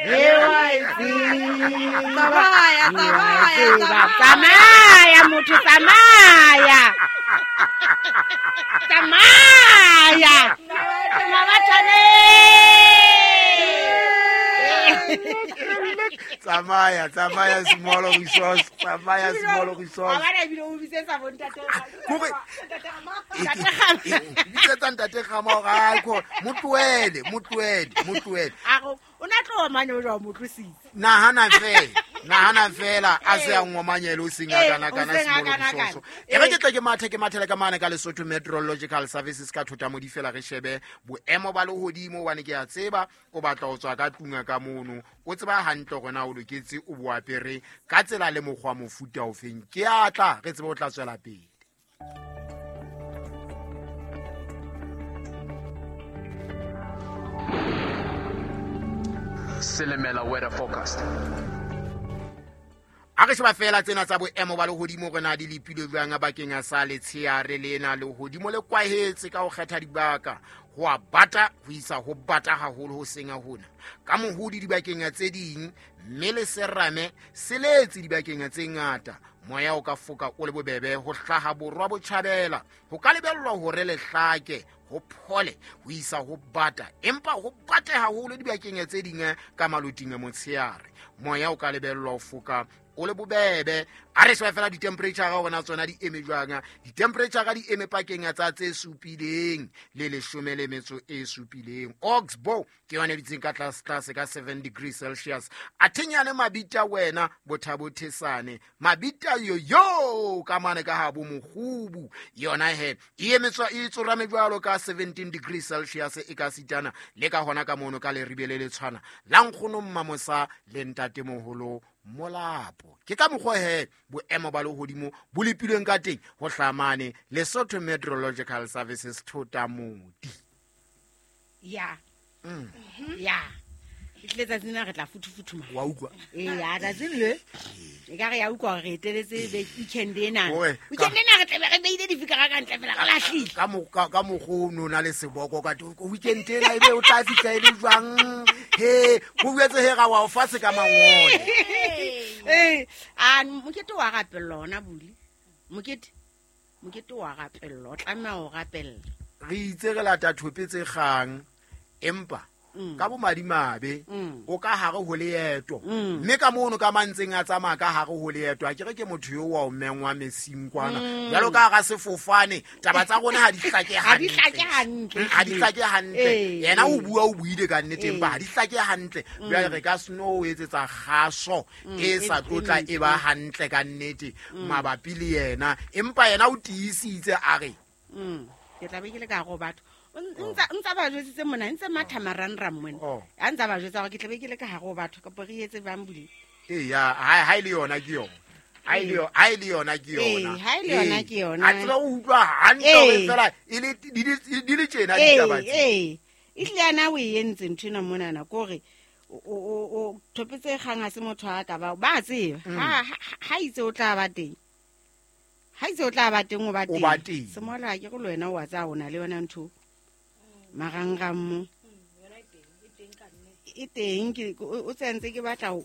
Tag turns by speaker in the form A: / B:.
A: Tsamaya, tsamaya, tsamaya motho, tsamaya. Tsamaya. Mabathane.
B: Tsamaya, tsamaya small resource, tsamaya small resource.
A: Wa ebile o bitsetsa bo ntate.
B: Kore bitsetsa ntate Kgama hore a ko motlohele, motlohele, motlohele.
A: A go o na tlo mane o jwa mo tlositse.
B: Nahana fela, nahana fela a se a ngomanyele o seng a kana kana small resource. E re ke tle ke mathe ke mathele ka mane ka Lesotho Meteorological Services ka thota modi fela re shebe boemo ba lehodimo hobane ke a tseba o batla ho tswa ka tlunga ka mono o tseba hantle hore na o loketse o bo apere ka tsela le mokgwa mofuta ofeng. Ke a tla re tsebe o tla tswela pele.
C: Silimela weather forecast.
B: A re sheba fela tsena tsa boemo ba lehodimo re na di lepilwe jwang bakeng sa letsheare lena. Lehodimo le kwahetse ka ho kgetha dibaka, ho a bata ho isa ho bata haholo ho seng hona ka mohodi dibakeng tse ding, mme le serame se letse dibakeng tse ngata. Moya o ka foka o le bobebe ho hlaha borwa botjhabela, ho ka lebellwa hore lehlake ho phole ho isa ho bata, empa ho bate haholo dibakeng tse ding ka maloting a motsheare. Moya o ka lebellwa ho foka o le bobebe. A re sheba fela di-temperature ga gona tsona di eme jwang. Di-temperature di eme pakeng tsa tse supileng le 17. Oxbow ke yona e dutseng ka tlase tlase ka 7 degrees Celsius. Athenyane mabita wena bothabothesane mabita yoyo ka mane ka habo mokgubu yona he e emetswa e tsorame jwalo ka 17 degrees Celsius e ka sitana le ka hona ka mono ka leribe le le tshwana la nkgono Mmamosa le ntatemoholo Molapo. Ke ka mokgwa he boemo ba lehodimo bo lepilweng ka teng ho hlamane Lesotho Meteorological Services thota modi.
A: Ya. Ya. Ehlile tsatsing lena re tla futhufuthuma.
B: Wa utlwa?
A: Ee, tsatsing le. E ka re ya utlwa hore re eteletse weekend ena.
B: Oe,
A: Weekend ena re tlabe re beile difikara ka ntle fela re lahlile.
B: Ka ka mokgwa o no na le seboko ka teng, weekend ena ebe o tla fihla e le jwang? He, ho boetse he ra wa o fatshe ka mangole.
A: Ee, a mokete wa rapellwa hona bule. Mokete, mokete wa rapellwa, o tlameha ho rapella.
B: Re itse re lata thope tse kgang, empa ka bomadimabe o ka hare ho leeto. Mme ka mono ka mantseng a tsamaya ka hare ho leeto, a ke re ke motho yo wa o mengwa mesing kwana. Jwalo ka hara sefofane, taba tsa rona ha di hlake
A: Ha di
B: hantle.
A: hlake hantle.
B: Ha di hlake hantle. Yena o bua o buile ka nnete, empa ha di hlake hantle. Jwale re ka seno o etsetsa kgaso e sa tlotla e ba hantle ka nnete mabapi le yena, empa yena o tiisitse a re
A: Ke tla be ke le ka hare ho batho. Ntsa ba jwetsitse mona, ntse matha marangrang mona. A ntsa ba jwetsa hore ke tla be ke le ka hare ho batho, kapa re etse bang bule.
B: Ee, ya, ha e le yona ke yona. Ha e le ha e le yona ke yona.
A: Ee, ha e le yona ke yona.
B: A tseba o utlwa hantle hore fela e le di le tjena ditaba tse.
A: Ee. Ehlile ana o e entse ntho ena monana, ke hore o thopetse kgang ha se motho a ka ba, ba tseba. Ha itse o tla ba teng. Ha itse o tla ba teng, o ba
B: O ba
A: teng.
B: teng.
A: Semola ke go le wena o a tsaya o na le yona ntho. Marangrang mo. E teng, ke, o tsentse ke batla